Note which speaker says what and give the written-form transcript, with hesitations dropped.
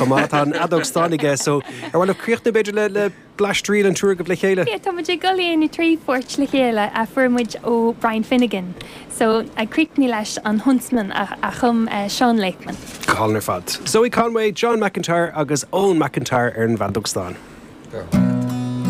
Speaker 1: chomh maith. Tá an fheadóg stáin aige so ar mhaith libh críochnú b'fhéidir le le blaistriail an triúr agaibh le chéile?
Speaker 2: Yeah, tá muid ag dul a dhéanamh 3 pháirt le chéile a fuair muid ó Brian Finnegan. So ag críochnú leis an Huntsman a a chum Seán Lakeman.
Speaker 1: Go hálainn ar fad. Zoe Conway, John McIntyre agus Eoin McIntyre ar an bhfeadóg stáin.